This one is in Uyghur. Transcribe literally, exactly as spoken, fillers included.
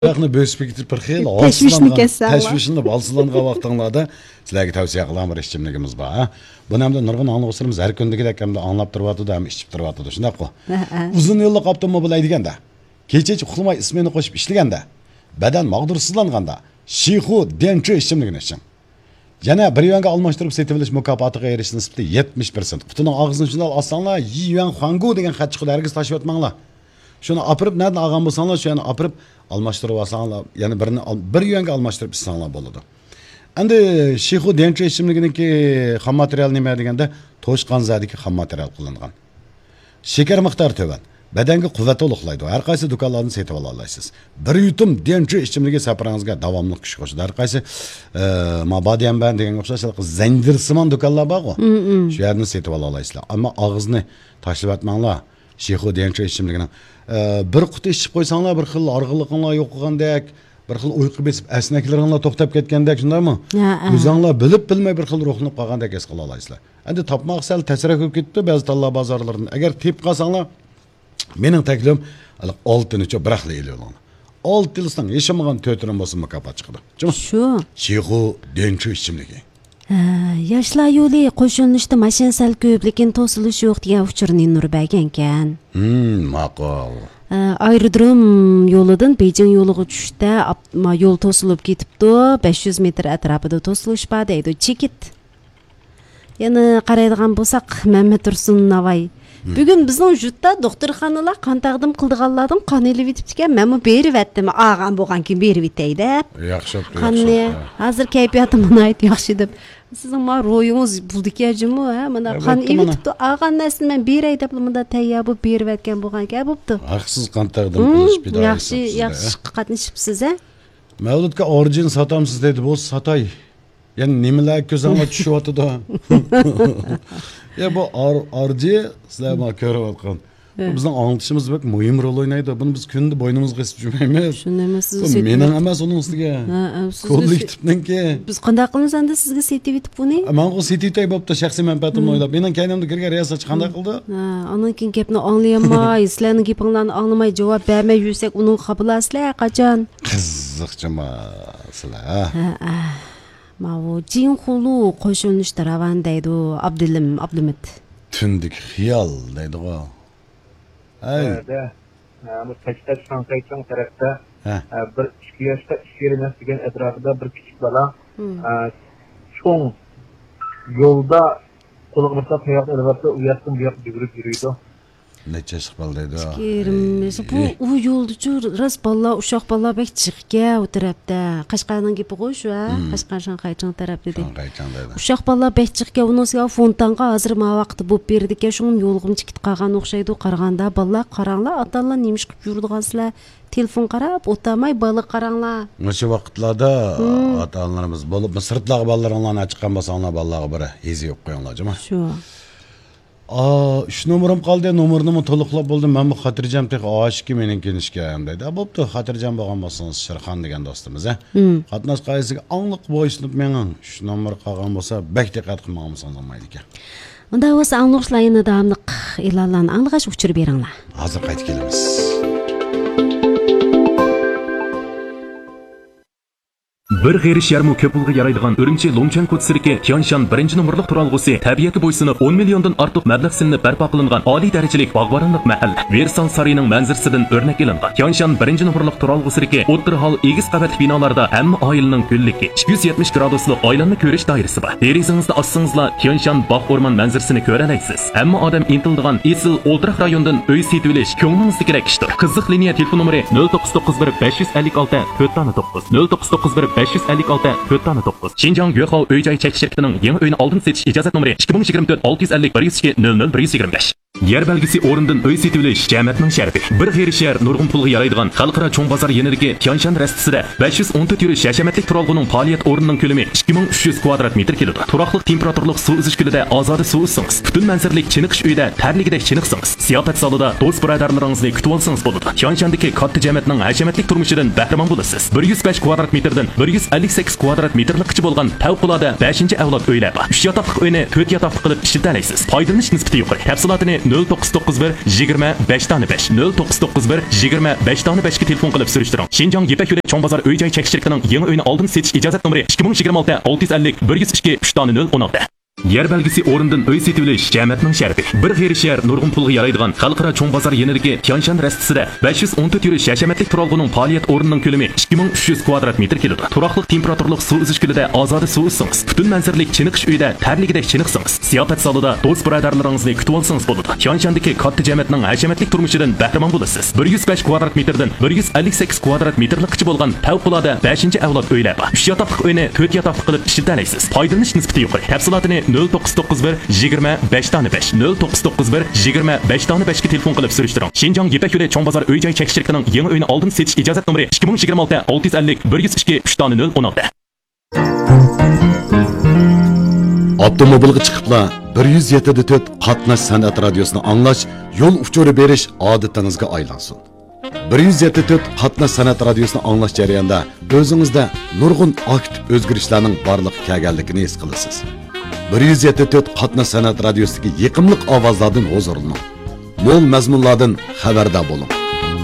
ھاياتنى بۆسۈپ كېتىپ، بىر خىل تەشۋىشنى ھالسىزلانغان، كەسسەڭلار. تەشۋىشلىنىپ، ھالسىزلانغان ۋاقتىڭلاردا سىلەرگە تەۋسىيە قىلغان بىر ئىچىملىكىمىز بار، ھە. بۇنى ئەمدى نۇرغۇن ئاڭلىغۇچىلىرىمىز ھەر كۈندىكىدەك ئەمدى ئاڭلاپ تۇرۇۋاتىدۇ، ھەم ئىچىپ تۇرۇۋاتىدۇ، شۇنداققۇ؟ ھە، ھە. ئۇزۇن يوللۇق ئاپتوموبىل ھەيدىگەندە، كېچە ئۇخلىماي ئىسمېنا قوشۇپ ئىشلىگەندە، بەدەن ماغدۇرسىزلانغاندا، شىخۇ ديەنچۈ ئىچىملىكىنى ئىچىڭ. يەنە بىر يۈەنگە ئالماشتۇرۇپ سېتىۋېلىش مۇكاپاتىغا ئېرىشىش نىسبىتى يەتمىش پىرسەنت. قۇتىنىڭ ئاغزىنى شۇنداق ئاچساڭلار، يى يۈەن خۇاڭگۇ دېگەن خەت چىقىدۇ، ھەرگىز تاشلىۋەتمەڭلار. شۇنى ئاپىرىپ، نەدىن ئالغان بولساڭلار، شۇ يەرنى ئاپىرىپ ئالماشتۇرۇۋالساڭلار، يەنە بىرنى ئال-، بىر يۈەنگە ئالماشتۇرۇپ ئىچسەڭلار بولىدۇ. ئەمدى شىخۇ ديەنچۈ ئىچىملىكىنىڭكى خام ماتېرىيالى نېمە دېگەندە، توشقان زادىكى خام ماتېرىيال قوللانغان. شېكەر مىقدارى تۆۋەن. بەدەنگە قۇۋۋەت تولۇقلايدۇ. ھەر قايسى دۇكانلاردىن سېتىۋالالايسىز. بىر يۇتۇم ديەنچۈ ئىچىملىكى سەپىرىڭىزگە داۋاملىق كۈچ قوشىدۇ. ھەر قايسى، ئە، ما باديەنبەن دېگەنگە ئوخشاش زەنجىرسىمان دۇكانلار بارغۇ. مم، مم. شۇ يەردىن سېتىۋالالايسىزلار. ئەمما ئاغزىنى تاشلىۋەتمەڭلار. شىخۇ ديەنچۈ ئىچىملىكىنىڭ، ئە، بىر قۇتا ئىچىپ قويساڭلار، بىر خىل ھارغىنلىقىڭلار يوقىغاندەك، بىر خىل ئۇيقۇ بېسىپ، ئەسنەكلىرىڭلار توختاپ كەتكەندەك، شۇنداقمۇ؟ ھە، ھە. ئۆزۈڭلار بىلىپ بىلمەي بىر خىل روھلىنىپ قالغاندەك ھېس قىلالايسىلەر. ئەمدى تاپماق سەل تەسرەك بولۇپ كېتىپتۇ بەزى تاللا بازارلىرىدىن. ئەگەر تېپىپ قالساڭلار، مېنىڭ تەكلىپىم، ھېلىقى ئالتىنىچۇ بىراقلا ئېلىۋېلىڭلار. ئالتە ئېلىساڭ، ھېچ بولمىغان تۆت ئېرىم بولسا مۇكاپات چىقىدۇ. جۇمۇ؟ شۇ. شىخۇ ديەنچۈ ئىچىملىكى. ھە، ياشلار يولى قوشۇلۇشتا ماشىنا سەل كۆپ، لېكىن توسۇلۇش يوق دېگەن ئۇچۇرنى نۇر بەرگەنكەن. ھىم، ماقۇل. ھە، ئايرودروم يولىدىن بېيجىڭ يولىغا چۈشۈشتە ئاپ-، ما-، يول توسۇلۇپ كېتىپتۇ، بەش يۈز مېتىر ئەتراپىدا توسۇلۇش بار دەيدۇ. چېكىت. يەنە قارايدىغان بولساق، مەمەتتۇرسۇن ناۋاي. ھىم. بۈگۈن بىزنىڭ يۇرتتا دوختۇرخانىلار قان تەقدىم قىلىدىغانلاردىن قان ئېلىۋېتىپتىكەن، مەنمۇ بېرىۋەتتىم، ئالغان بولغانكىن بېرىۋېتەي دەپ. ياخشى بوپتۇ، قاننى ياخشى بوپتۇ. ھازىر كەيپىياتىم ناھايىتى ياخشى دەپ. سىزنىڭ ما روھىڭىز بولىدىكەن جۇمۇ، ھە؟ مانا يا، قان بوپتۇ مانا. ئېۋېتىپتۇ، ئالغان نەرسىنى مەن بېرەي دەپلا مۇندا تەييار بولۇپ بېرىۋەتكەن بولغانكەن، بوپتۇ. ھەقسىز قان تەقدىم ھىم، قىلىش پىدائىيلىقى ياخشى، سىزدە. ياخشى قاتنىشىپسىز، ھە؟ مەۋلۇتكە ئارجىن ساتامسىز دەيدۇ، بولسا ساتاي. يەنە نېمىلەر كۆزۈڭلار چۈشۈۋاتىدۇ؟ يا، بۇ ئار-، ئارجى، سىلەر مانا كۆرۈۋاتقان. ھە. بۇ بىزنىڭ ئاڭلىتىشىمىزدا بەك مۇھىم رول ئوينايدۇ. بۇنى بىز كۈندە بوينىمىزغا قىسىپ يۈرمەيمىز. شۇنى ئەمەس، سىزگە بۇ سېتىۋېتىپ مېنىڭ ئەمەس، ئۇنىڭ ئۈستىگە. ھە، ھە، سىزگە سېت-، كوللېكتىپنىڭكى. بىز قانداق قىلىمىز ئەمدى سىزگە سېتىۋېتىپ بۇنى؟ ماڭا سېتىۋېتەي بوپتۇ، شەخسىي مەنپەئەتىمنى ھىم. ئويلاپ. مېنىڭ كەينىمدە كىرگەن رىياسەتچى قانداق ھىم. قىلدى؟ ھە، ئاندىن كېيىن گەپنى ئاڭلىيالماي، سىلەرنىڭ گېپىڭلارنى ئاڭلىماي، جاۋاب بەرمەي يۈرسەك، ئۇنىڭغا خاپىلارسىلەر قاچان؟ قىزىقچىما سىلەر، ھە؟ ھە، ھە. ماۋۇ جىڭخۇلۇ قوشۇلۇشتا راۋان دەيدۇ ئابدۇلىم ئابلىمىت. تۈندىكى خىيال دەيدىغۇ. ھەي. ھە، دە. ھە، بۇ قەشقەر شاڭخەيچىڭ تەرەپتە، ھە. ھە، بىر ئىككى ياشقا ئىككى يېرىم ياش دېگەن ئەتراپىدا بىر كىچىك بالا، ھىم. ھە، چوڭ يولدا قولىغا بىر تال تاياقنى ئېلىۋاپتۇ، ئۇ ياقتىن بۇ ياققا يۈگۈرۈپ يۈرىدۇ. نەچچە ياشلىق بالا دەيدۇ. ئىككى يېرىم ياش. بۇ، ئەي. ئۇ يولدىچۇ راست بالىلار، ئۇششاق بالىلار بەك جىقكەن ئۇ تەرەپتە. قەشقەرنىڭ گېپىغۇ شۇ، ھە؟ مم. قەشقەر شاڭخەيچىڭ تەرەپتە دېدى. شاڭخەيچىڭ دەيدۇ. ئۇششاق بالىلار بەك جىقكەن، ئۇنىڭ ئۈستىگە فونتانغا ھازىر ما ۋاقىتتا بولۇپ بېرىدىكەن، شۇڭا يولغىمۇ چىقىپ قالغان ئوخشايدۇ. قارىغاندا بالىلار، قاراڭلار، ئاتا-ئانىلار نېمە ئىش قىلىپ يۈرىدىغان سىلەر؟ تېلېفون قاراپ ئولتۇرماي بالىغا قاراڭلار. مۇشۇ ۋاقىتلاردا مم. ئاتا-ئانىلىرىمىز، بولۇپمۇ سىرتلارغا بالىلىرىڭلارنى ئەچىققان بولساڭلار، بالىلارغا بىر ھېزى يوق قويۇڭلار، جۇمۇ. شۇ. ئا، ئۈچ نومۇرۇم قالدى، نومۇرنىمۇ تولۇقلاپ بولدۇم، مەنمۇ خاتىرجەم تېخى ئاشىكى مېنىڭكى ئىنىشكەم دەيدۇ. ئا، بوپتۇ، خاتىرجەم بولغان بولسىڭىز شىرخان دېگەن دوستىمىز، ھە؟ مم. قاتناش قائىدىسىگە ئاڭلىق بويسۇنۇپ مېڭىڭ. ئۈچ نومۇر قالغان بولسا بەك دىققەت قىلمىغان بولسىڭىز بولمايدىكەن. ئۇنداق بولسا ئاڭلىغۇچىلار يەنە داۋاملىق ئېلانلارنى ئاڭلىغاچ ئۇچۇر بېرىڭلار. ھازىر قايتىپ كېلىمىز. بىر غېرىش يەرمۇ كۆپ پۇلغا يارايدىغان ئۈرۈمچى لۇڭچۈەن كوچىسىدىكى تيانشان بىرىنچى نومۇرلۇق تۇرالغۇسى تەبىئەتكە بويسۇنۇپ، ئون مىليوندىن ئارتۇق مەبلەغ سېلىنىپ بەرپا قىلىنغان ئالىي دەرىجىلىك باغۋەنلىك مەھەللە. ۋېرسال سارىيىنىڭ مەنزىرىسىدىن ئۆرنەك ئېلىنغان. تيانشان بىرىنچى نومۇرلۇق تۇرالغۇسىدىكى ئوتتۇرا ھال ئېگىز قەۋەتلىك بىنالاردا ھەممە ئائىلىنىڭ گۈللۈكى، ئىككى يۈز يەتمىش گرادۇسلۇق ئايلانما كۆرۈش دائىرىسى بار. دېرىزىڭىزنى ئاچسىڭىزلا، تيانشان باغ ئورمان مەنزىرىسىنى كۆرەلەيسىز. ھەممە ئادەم ئىنتىلىدىغان ئېسىل ئولتۇراق رايوندىن ئۆي سېتىۋېلىش كۆڭلىڭىزدىكىدەك ئىشتۇر. قىزىق لىنىيە تېلېفون نومۇرى: نۆل توققۇز توققۇز بىر بەش يۈز ئەللىك ئالتە تۆت دانە توققۇز، نۆل توققۇز توققۇز بىر بەش يۈز ئەللىك ئالتە تۆت دانە توققۇز. شىنجاڭ يۆخاۋ ئۆي جاي چەكلىك شىركىتىنىڭ يېڭى ئۆينى ئالدىن سېتىش ئىجازەت نومۇرى: ئىككى مىڭ يىگىرمە تۆت ئالتە يۈز ئەللىك بىر يۈز ئىككى نۆل نۆل بىر يۈز يىگىرمە بەش. يەر بەلگىسى ئورنىدىن ئۆي سېتىۋېلىش جەمەتنىڭ شەرىپى. بىر غېرىش يەر نۇرغۇن پۇلغا يارايدىغان خەلقئارا چوڭ بازار يېنىدىكى تيانشان رەستىسىدە بەش يۈز ئون تۆت يۈرۈش ھەشەمەتلىك تۇرالغۇنىڭ پائالىيەت ئورنىنىڭ كۆلىمى ئىككى مىڭ ئۈچ يۈز كۋادرات مېتىر كېلىدۇ. تۇراقلىق تېمپېراتۇرىلىق سۇ ئۈزۈش كۆلىدە ئازادە سۇ ئۈزسىڭىز، پۈتۈن مەنزىرىلىك چېنىقىش ئۆيىدە تەرلىگۈدەك چېنىقسىڭىز، زىياپەت زالىدا دوست-بۇرادەرلىرىڭىزنى كۈتۈۋالسىڭىز بولىدۇ. تيانشاندىكى كاتتا جەمەتنىڭ ھەشەمەتلىك تۇرمۇشىدىن بەھرىمەن بولىسىز. بىر يۈز بەش كۋادرات مېتىردىن بىر يۈز ئەللىك سەككىز كۋادرات مېتىرلىققىچە بولغان پەۋقۇلئاددە بەشىنچى ئەۋلاد ئۆيلەر بار. ئۈچ ياتاقلىق ئۆينى تۆت ياتاقلىق قىلىپ ئىشلىتەلەيسىز. پايدىلىنىش نىسبىتى يۇقىرى. تەپسىلاتىنى نۆل توققۇز توققۇز بىر يىگىرمە بەش دانە بەش، نۆل توققۇز توققۇز بىر يىگىرمە بەش دانە بەشكە تېلېفون قىلىپ سۈرۈشتۈرۈڭ. شىنجاڭ يىپەك يولى چوڭ بازار ئۆي جاي چەك شىركىتىنىڭ يېڭى ئۆينى ئالدىن سېتىش ئىجازەت نومۇرى ئىككى مىڭ يىگىرمە ئالتە ئالتە يۈز ئەللىك بىر يۈز ئىككى ئۈچ دانە نۆل ئون ئالتە. يەر بەلگىسى ئورنىدىن ئۆي سېتىۋېلىش جەمەتنىڭ شەرىپى. بىر غېرىب شەھەر نۇرغۇن پۇلغا يارايدىغان خەلقئارا چوڭ بازار يېنىدىكى تيانشان رەستىسىدە بەش يۈز ئون تۆت يۈرۈش ھەشەمەتلىك تۇرالغۇنىڭ پائالىيەت ئورنىنىڭ كۆلىمى ئىككى مىڭ ئۈچ يۈز كۋادرات مېتىر كېلىدۇ. تۇراقلىق تېمپېراتۇرىلىق سۇ ئۈزۈش كۆلىدە ئازادە سۇ ئۈزسىڭىز، پۈتۈن مەنزىرىلىك چېنىقىش ئۆيىدە تەرلىگۈدەك چېنىقسىڭىز، زىياپەت زالىدا دوست بۇرادەرلىرىڭىزنى كۈتۈۋالسىڭىز بولىدۇ. تيانشاندىكى كاتتا جەمەتنىڭ ھەشەمەتلىك تۇرمۇشىدىن بەھرىمەن بولىسىز. بىر يۈز بەش كۋادرات مېتىردىن بىر يۈز ئەللىك سەككىز كۋادرات مېتىرلىققىچە بولغان پەۋقۇلئاددە بەشىنچى ئەۋلاد ئۆيلەر بار. ئۈچ ياتاقلىق ئۆينى تۆت ياتاقلىق قىلىپ ئىشلىتەلەيسىز. پايدىلىنىش نىسبىتى يۇقىرى. تەپسىلاتىنى نۆل توققۇز توققۇز بىر يىگىرمە بەش دانە بەش، نۆل توققۇز توققۇز بىر يىگىرمە بەش دانە بەشكە تېلېفون قىلىپ سۈرۈشتۈرۈڭ. شىنجاڭ يىپەك يولى چوڭ بازار ئۆي جاي چەك شىركىتىنىڭ يېڭى ئۆينى ئالدىن سېتىش ئىجازەت نومۇرى ئىككى مىڭ يىگىرمە ئالتە ئالتە يۈز ئەللىك بىر يۈز ئىككى ئۈچ دانە نۆل ئون ئالتە. ئاپتوموبىلغا چىقىپلا بىر يۈز يەتتە تۆت قاتناش سەنئەت رادىيوسىنى ئاڭلاش، يول ئۇچۇرى بېرىش ئادىتىڭىزگە ئايلانسۇن. بىر يۈز يەتتە تۆت قاتناش سەنئەت رادىيوسىنى ئاڭلاش جەريانىدا ئۆزىڭىزدە نۇرغۇن ئاكتىپ ئۆزگىرىشلەرنىڭ بارلىققا كەلگەنلىكىنى ھېس قىلىسىز. بىر يۈز يەتتە تۆت قاتناش سەنئەت رادىيوسىدىكى يېقىملىق ئاۋازلاردىن ھۇزۇرلىنىڭ. مول مەزمۇنلاردىن خەۋەردار بولۇڭ.